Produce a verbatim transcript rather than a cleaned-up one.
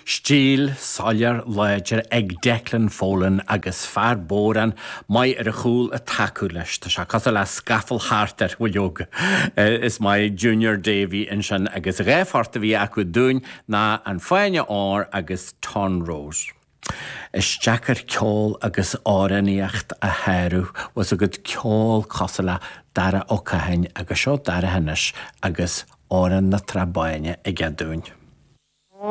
Stíl soiléir láidir ag Declan Folan agus fear bodhrán maith ar a chúl ag tacú leis. Tá sé cosúil le scafall thart ar bhuileog. Is maith Junior Davy ansin agus dhá phort a bhí acu dúinn ná an Fáinne Óir agus Tonrose. Is deacair ceol agus amhránaíocht a shárú was agad ceol cosúil le Dara Ó Catháin agus seo Dara anois agus Amhrán na Trá Báine aige dúinn.